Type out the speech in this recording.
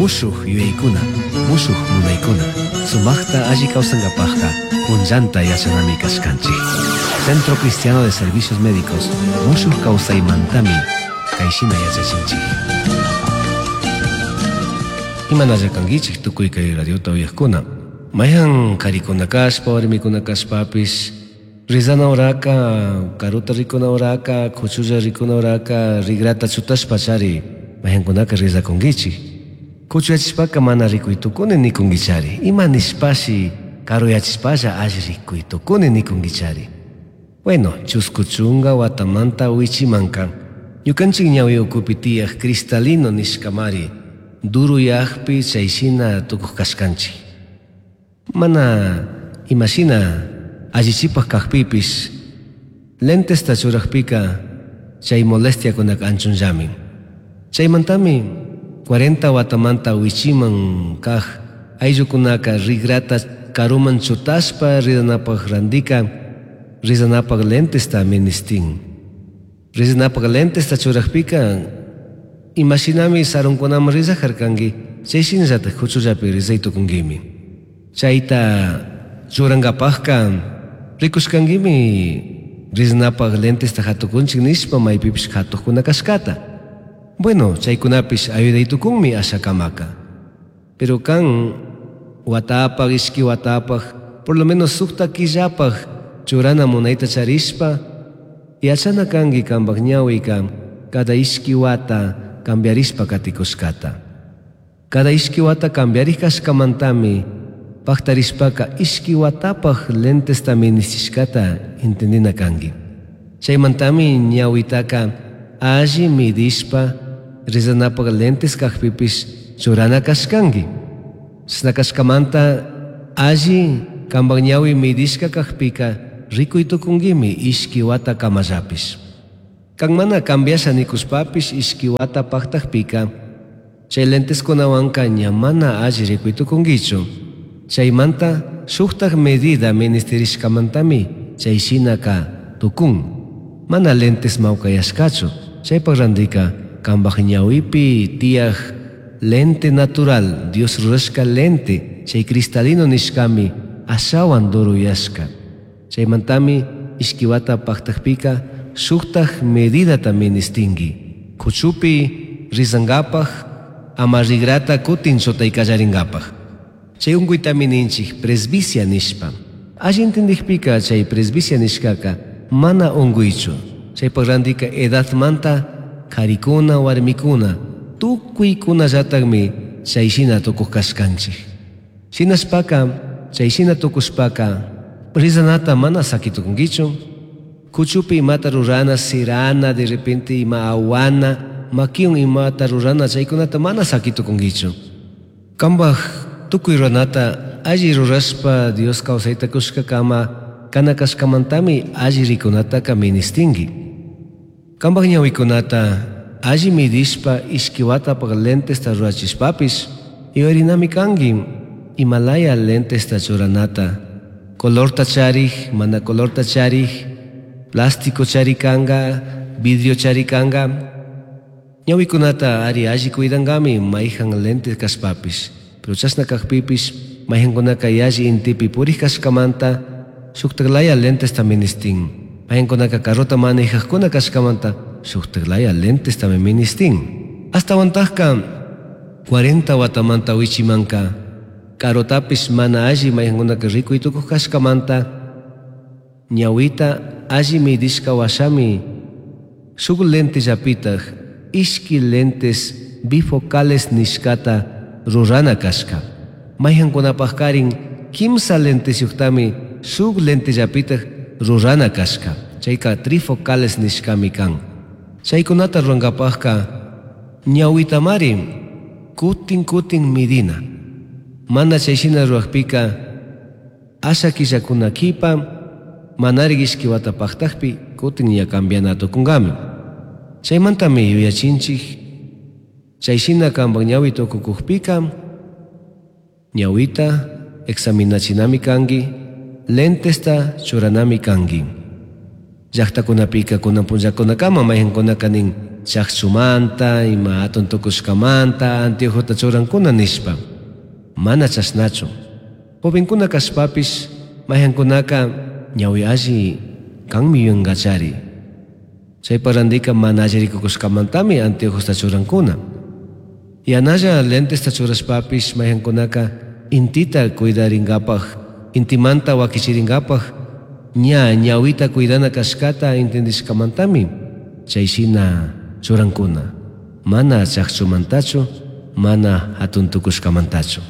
Mushuj yuyaykuna, mushuj munaykuna, sumajta alli kawsankapajka punllanta yachanami kashkanchik. Centro Cristiano de Servicios Médicos mushuj kawsaymantami kayshina yachachinchik. Imanalla kankichik tukuy kay radiota uyajkuna. Mayhan karikuna kashpa, warmikuna kashpapish Rizana uraka, karuta rikuna uraka, kuchulla rikuna uraka, rigrata chutashpa chari, mayhankunaka rizakunkichik. Kuchuyachishpaka mana rikuy tukuni nikunkichari. Ima nishpashi karuyachishpalla alli rikuy tukuni nikunkichari. Bueno, chusku chunga watamanta wichimanka, ñukanchik ñawi ukupi tiyaj cristalino nishkamari, duruyajpi chayshina tukuj kashkanchik. Mana imashina allichipaj kajpipish, lentesta churajpika chay molestiakunaka anchunllami. Chaymantami 40 watamanta wichiman kaj ayllukunaka rigrata karuman chutashpa rizanapaj randika rizanapaj lentesta ministin. Rizanapaj lentesta churajpika imashinami sarunkunaman rizajarkanki, chay shinallataj kuchullapi rizay tukunkimi. Chayta churankapajka rikushkankimi rizanapaj lentesta hatukunchik nishpa maypipish hatuqkuna kashkata. Bueno, chaykunapish ayuday tukunmi ashakamaka. Pero kan watapaj, ishki watapaj, por lo menos sukta killapaj churana munayta charishpa, yachana kanki kanpak ñawika cada ishki wata cambiarishpa katikushkata. Cada ishki wata cambiarij kashkamantami pajtarishpaka ishki watapaj lentesta ministishkata entendina kanki. Chaymantami ñawitaka alli midishpa rizanapaj lentes kajpipish churana kashkanki. Chashna kashkamanta alli kanpak ñawi midishka kajpika rikuy tukunkimi ishki wata kamallapish. Kan mana cambiasha nikushpapish ishki wata paktajpika chay lenteskunawanka ña mana alli rikuy tukunkichu. Chaymanta shuktaj medida ministerishkamantami chay shinaka tukun. Mana lentes mawkayashkachu, chaypak randika kanpak ñawipi tiyaj lente natural, Dios rurashka lente, chay cristalino nishkami ashawan duruyashka. Chaymantami ishki wata paktajpika shuktaj medidata ministinki. Kuchupi rizankapaj ama rigrata kutin chutay kallarinkapaj. Chay unkuytami ninchik presbicia nishpa. Alli entendikpika chay presbicia nishkaka mana unkuychu. Chaypak randika edadmanta karikuna, warmikuna, tukuykunallatakmi chay shina tukuj kashkanchik. Shinashpaka, chay shina tukushpaka, rizanata mana sakitukunkichu. Kuchupi imata rurana, sirana, de repente ima awana, makiwan imata rurana, chaykunata mana sakitukunkichu. Kanpak tukuy ruranata alli rurashpa Dios kawsayta kushkakama kana kashkamantami alli rikunataka ministinki. Kanpak ñawikunata alli midishpa ishki watapaj lentesta rurachishpapish, yuyarinami kanki imalaya lentesta churanata, colorta charij, mana colorta charij, plástico charikanka, vidrio charikanka. Ñawikunata ari alli cuidankami mayhan lentes kashpapish. Pero chashna kajpipish mayhankunaka yalli intipi purij kashkamanta shuktaklaya lentesta ministin. Mayhankunaka carrota manejajkuna kashkamanta shuktaklaya lentestami ministin. Astawantajka 40 watamanta wichimanka karotapish mana alli mayhankunaka rikuy tukuj kashkamanta ñawita alli midishka washami shuk lentellapitaj ishki lentes bifocales nishkata rurana kashka. Mayhankunapajkarin kimsa lentesyuktami shuk lentellapitaj rurana kashka. Chayka trifocales nishkami kan. Chaykunata rurankapajka ñawitamari kutin kutin midina. Mana chayshina rurakpika asha killakuna kipa manarik ishki wata paktajpi kutin ña cambiana tukunkami. Chaymantami yuyachinchik chayshina kanpak ñawi tukukukpika ñawita examinachinami kanki, lentesta churanami kanki. Llaqtakunapika kunan punllakunakama mayhankunaka nin Chajchumanta, ima hatun tucushcamanta anteojota churancuna nishpa. Mana chashnachu. Jovencuna cashpapish maijancunaca ñahui alli canmi yuyangachari. Chaipa randica mana alli ricucushcamantami anteojosta churancuna. Yanalla lentesta churashpapish maijancunaca intita cuidaringapaj, intimanta huaquichiringapaj ña ñahuita cuidana cashcata entendishcamantami chay shina churancuna. Mana chajchumantachu, mana hatun tucushcamantachu.